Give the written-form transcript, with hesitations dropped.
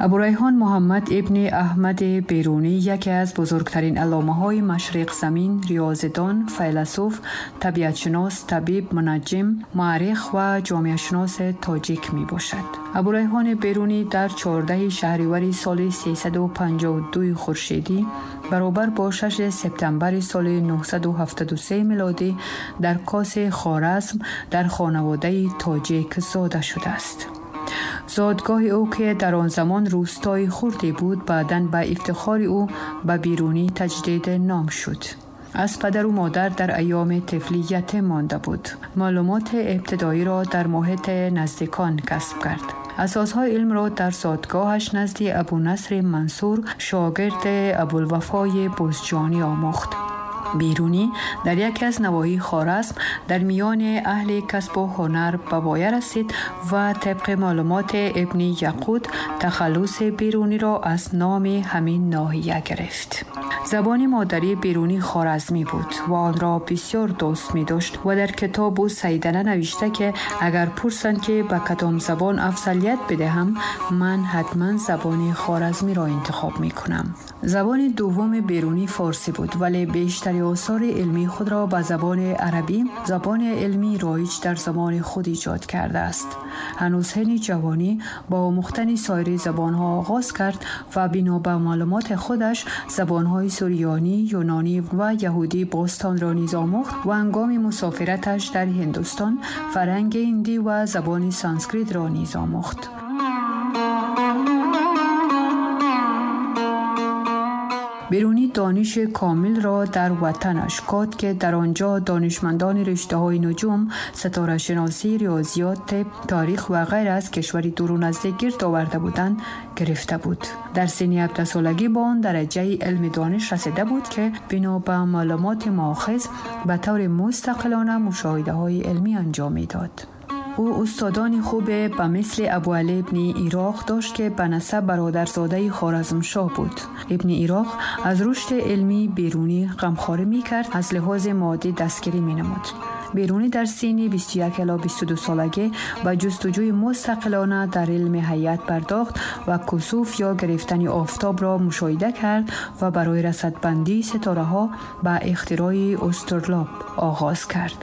Абурайҳон Муҳаммад ибни Аҳмад Берунӣ яке аз бузургтарин алломаҳои машриқзамин, риёзидон, файласуф, табиатшинос, табиб, мунаҷҷим, муаррих ва ҷомеашиноси тоҷик мебошад. Абурайҳони Берунӣ дар 14 шаҳривари соли 352 хуршедӣ баробар бо 6 септембри соли 973 милодӣ дар Коси Хоразм дар хонаводаи тоҷик зода шудааст. Зодгоҳи ӯ, ки дар он замон рӯстои хурде буд, баъдан ба ифтихори ӯ ба Берунӣ таҷдид ном шуд. Аз падару модар дар айёми тифлӣ ятим монда буд. Маълумоти ибтидоиро дар муҳити наздикон касб кард. Асосҳои илмро дар зодгоҳаш назди Абунасри Мансур, шогирди Абулвафои Бузҷонӣ омӯхт. Берунӣ дар яке аз навоҳии Хоразм дар миёни аҳли касбу ҳунар ба воя расид ва тибқи маълумоти ибни Яқут тахаллуси Беруниро аз номи ҳамин ноҳия гирифт. Забони модарии Берунӣ хоразмӣ буд ва онро бисёр дӯст медошт ва дар китобу сайдала навишта, ки агар пурсанд, ки ба кадом забон афзалият бидиҳам, ман ҳатман забони хоразмиро интихоб мекунам. Забони дуввуми Берунӣ форсӣ буд, вале бештари осори илмии худро ба забони арабӣ, забони илмии роиҷ дар замони худ, эҷод кардааст. Ҳанӯз ҳини ҷавонӣ бо омӯхтани соири забонҳо оғоз кард ва бино ба маълумоти худаш забонҳои сурёнӣ, юнонӣ ва яҳудии бостонро низ омӯхт ва ҳангоми мусофираташ дар Ҳиндустон фарҳанги ҳиндӣ ва забони санскритро низ омӯхт. Берунӣ дониши комилро дар ватанаш Кот, ки дар он ҷо донишмандони риштаҳои нуҷум, ситорашиносӣ, риёзиёт, тиб, таърих ва ғайра аз кишвари дуру наздик гирд оварда буданд, гирифта буд. Дар синни 17солагӣ ба он дараҷаи илми дониш расида буд, ки бино ба маълумоти моохиз ба таври мустақилона мушоҳидаҳои илмӣ анҷом медод. Ӯ устодони хубе ба мисли Абуалӣ ибни Ироқ дошт, ки ба насаб бародарзодаи Хоразмшоҳ буд. Ибни Ироқ аз рушди илмии Берунӣ ғамхорӣ мекард, аз лиҳози моддӣ дастгирӣ менамуд. Берунӣ дар синни 21 ила 22 солагӣ ба ҷустуҷӯи мустақилона дар илми ҳайат пардохт ва кусуф ё гирифтани офтобро мушоҳида кард ва барои расадбандии ситораҳо ба ихтирои устурлоб оғоз кард.